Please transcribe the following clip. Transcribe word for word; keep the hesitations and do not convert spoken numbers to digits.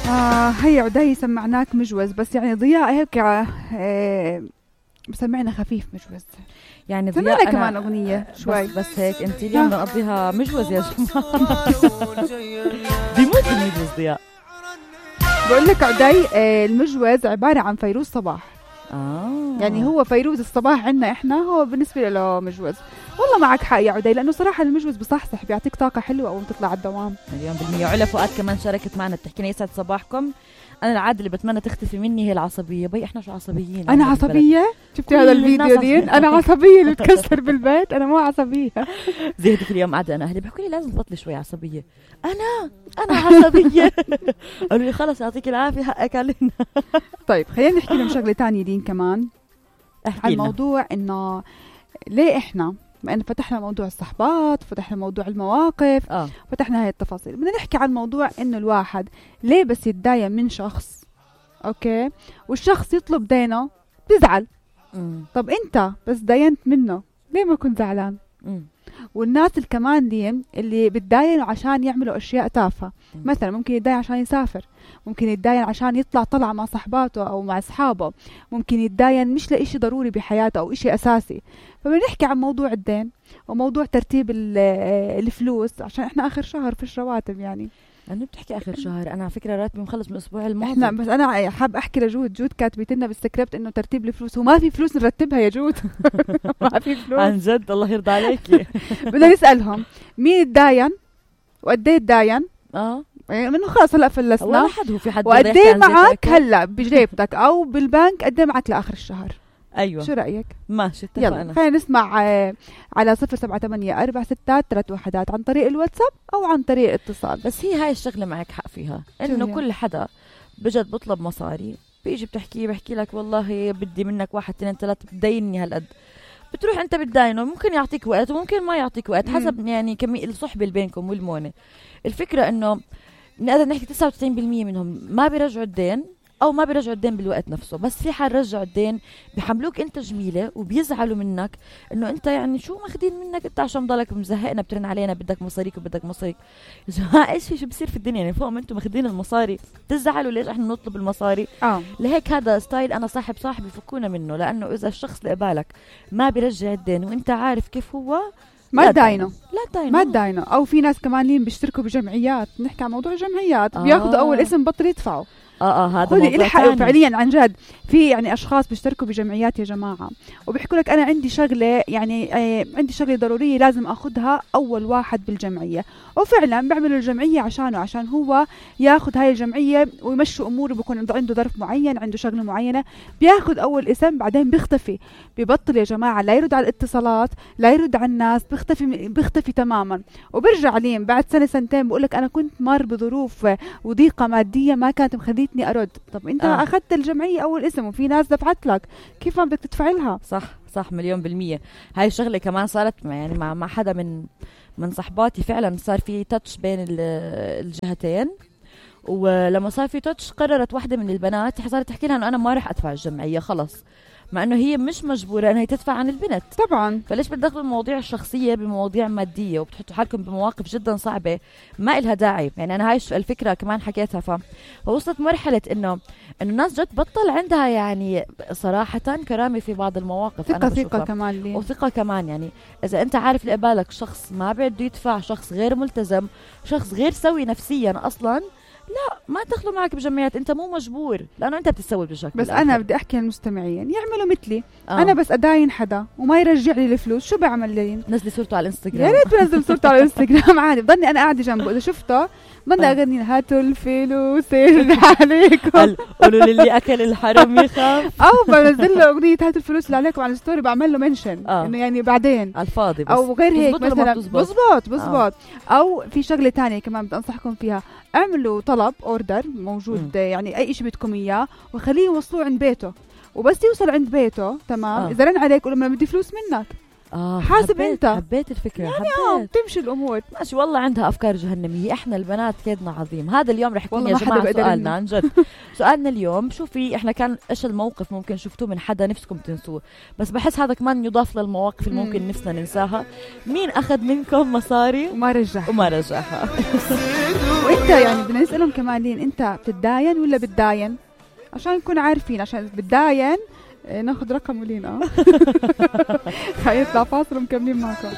آه هي عدي سمعناك مجوز، بس يعني ضياء هيك آه بسمعنا خفيف مجوز، يعني ضياء كمان أغنية شوي بس, بس هيك انت اليوم نقضيها مجوز يا جماعة. بيموت المجوز ضياء. بقول لك عدي آه المجوز عبارة عن فيروز صباح. آه. يعني هو فيروز الصباح عنا احنا، هو بالنسبة له مجوز. والله معك حق يا عدي، لأنه صراحة المجوز بصحصح، بيعطيك طاقة حلوة أول ما تطلع على الدوام. مليون بالمية. علا فؤاد كمان شاركت معنا بتحكينا يسعد صباحكم. أنا العادة اللي بتمنى تختفي مني هي العصبية. بي إحنا شو عصبيين؟ أنا عصبية؟ شفتي هذا الفيديو دين؟ أنا عصبية اللي بتكسر بالبيت، أنا مو عصبية. زي هديك اليوم قاعدة أنا أهلي بيحكوا لي لازم تبطلي شوي عصبية. أنا أنا عصبية. قالوا لي خلص يعطيك العافية حقك علينا. طيب خلينا نحكي لهم شغلة تانية دين كمان. عن الموضوع إنه ليه إحنا ما إن فتحنا موضوع الصحبات، فتحنا موضوع المواقف، آه. فتحنا هاي التفاصيل، بدنا نحكي عن موضوع إنه الواحد ليه بس يتداين من شخص أوكي والشخص يطلب دينه بيزعل. مم. طب أنت بس داينت منه ليه ما كنت زعلان؟ مم. والناس الكمان دي اللي بتداينوا عشان يعملوا أشياء تافهة، مثلا ممكن يتداين عشان يسافر، ممكن يتداين عشان يطلع طلع مع صحباته أو مع أصحابه، ممكن يتداين مش لإشي ضروري بحياته أو إشي أساسي. فبنحكي عن موضوع الدين وموضوع ترتيب الفلوس، عشان إحنا آخر شهر فيش رواتب. يعني أنا بتحكي آخر شهر، أنا على فكرة راتبي مخلص من الأسبوع الماضي. إحنا بس أنا حاب أحكي لجود، جود كاتبت لنا بالسكريبت إنه ترتيب الفلوس، وما في فلوس نرتبها يا جود. ما في فلوس عن جد الله يرضى عليكي. بدنا نسألهم مين الداين وقد ايه الداين؟ اه منه خلاص هلا فلسنا ولا حد هو في حد وقد ايه معك هلا بجيبتك او بالبنك، قد ايه معك لاخر الشهر. ايوه شو رايك؟ ماشي اتفقنا. يلا خلينا نسمع آه على صفر سبعة ثمانية أربعة ستة ثلاثة وحدات عن طريق الواتساب او عن طريق اتصال. بس هي هاي الشغله معك حق فيها، انه كل حدا بجد بطلب مصاري، بيجي بتحكي بحكي لك والله بدي منك واحد اثنين ثلاثه بديني هالقد، بتروح انت بتداينه، ممكن يعطيك وقت وممكن ما يعطيك وقت حسب مم. يعني كمية الصحبة اللي بينكم والمونة. الفكرة انه نقدر نحكي تسعة وتسعين بالمية منهم ما بيرجعوا الدين او ما بيرجعوا الدين بالوقت نفسه، بس في حال رجعوا الدين بيحملوك انت جميلة وبيزعلوا منك انه انت يعني شو ماخدين منك انت عشان ضلك مزهقنا بترن علينا بدك مصاريك وبدك مصاريك. يا جماعة ايش في شو بصير في الدنيا؟ يعني فوق ما انتم ماخدين المصاري تزعلوا ليش احنا نطلب المصاري؟ اه لهيك هذا ستايل انا صاحب صاحبي فكونا منه، لانه اذا الشخص اللي قبالك ما بيرجع الدين وانت عارف كيف هو ما تداينه، لا تداينه ما تداينه. او في ناس كمان لين بيشتركوا بجمعيات، نحكي عن موضوع جمعيات آه. بياخذوا اول اسم بطل يدفعوا. اه اه هذا موضوع ثاني فعليا عن جد. في يعني اشخاص بيشتركوا بجمعيات يا جماعه وبيحكوا لك انا عندي شغله يعني آه عندي شغله ضروريه لازم اخذها اول واحد بالجمعيه، وفعلا بيعملوا الجمعيه عشانه، عشان هو ياخذ هاي الجمعيه ويمشوا اموره، بيكون عنده ظرف معين، عنده شغله معينه، بياخذ اول اسم بعدين بيختفي، ببطل يا جماعه لا يرد على الاتصالات لا يرد على الناس، بيختفي بيختفي تماما. وبرجع لين بعد سنه سنتين بقول لك انا كنت مر بظروف وضيقه ماديه ما كانت مخليتني أرد. طب أنت آه. أخذت الجمعية أول اسم وفي ناس دفعت لك، كيف ما بدك تدفع لها؟ صح صح مليون بالمية. هاي الشغلة كمان صارت يعني مع مع حدا من من صحباتي، فعلا صار في تاتش بين الجهتين، ولما صار في تاتش قررت واحدة من البنات صارت تحكي لها إنه أنا ما رح أدفع الجمعية خلص، مع انه هي مش مجبوره انها تدفع عن البنت طبعا. فليش بتدخلوا المواضيع الشخصيه بمواضيع ماديه وبتحطوا حالكم بمواقف جدا صعبه ما إلها داعي. يعني انا هاي الفكره كمان حكيتها، فوصلت مرحله انه انه الناس جد بطل عندها يعني صراحه كرامه في بعض المواقف. ثقه ثقه كمان لي. وثقه كمان، يعني اذا انت عارف اللي قبالك شخص ما بده يدفع، شخص غير ملتزم، شخص غير سوي نفسيا اصلا، لا ما تدخلوا معك بجمعيات، انت مو مجبور لانه انت بتسوي بشكل. بس انا بدي احكي للمستمعين يعملوا مثلي آه. انا بس اداين حدا وما يرجع لي الفلوس، شو بعمل لي؟ نزلي صورته على الانستغرام. يا ريت بنزل صورته على الانستغرام عادي، بضلني انا قاعده جنبه اذا شفته بضلني اغني هاتوا الفلوس اللي عليكم قولوا للي اكل الحرم يخاف، او بنزل له اغنيه هاتوا الفلوس اللي عليكم على الستوري، بعمل له منشن آه. انه يعني بعدين على الفاضي بس. او غير هيك مثلا بزبط بزبط آه. او في شغله تانية كمان بدي انصحكم فيها، اعملوا طلب اوردر موجود م. يعني اي شيء بدكم اياه وخليه يوصلوه عند بيته، وبس يوصل عند بيته تمام آه. اذا رن عليك قول له بدي فلوس منك، آه حاسب حبيت انت حبيت الفكرة يعني حبيت. آه بتمشي الامور. ماشي والله عندها افكار جهنميه. احنا البنات كيدنا عظيم. هذا اليوم رح يكون يا جماعه سؤالنا عن جد. سؤالنا اليوم شوفي احنا كان ايش الموقف ممكن شفتوه من حدا نفسكم تنسوه، بس بحس هذا كمان يضاف للمواقف اللي ممكن نفسنا ننساها. مين اخذ منكم مصاري وما رجعها وما رجعها؟ وانت يعني بدنا نسالهم كمان لين انت بتتداين ولا بتداين عشان نكون عارفين. عشان بتداين ناخذ رقم ولين اه هيطلع فاصل ومكملين معكم.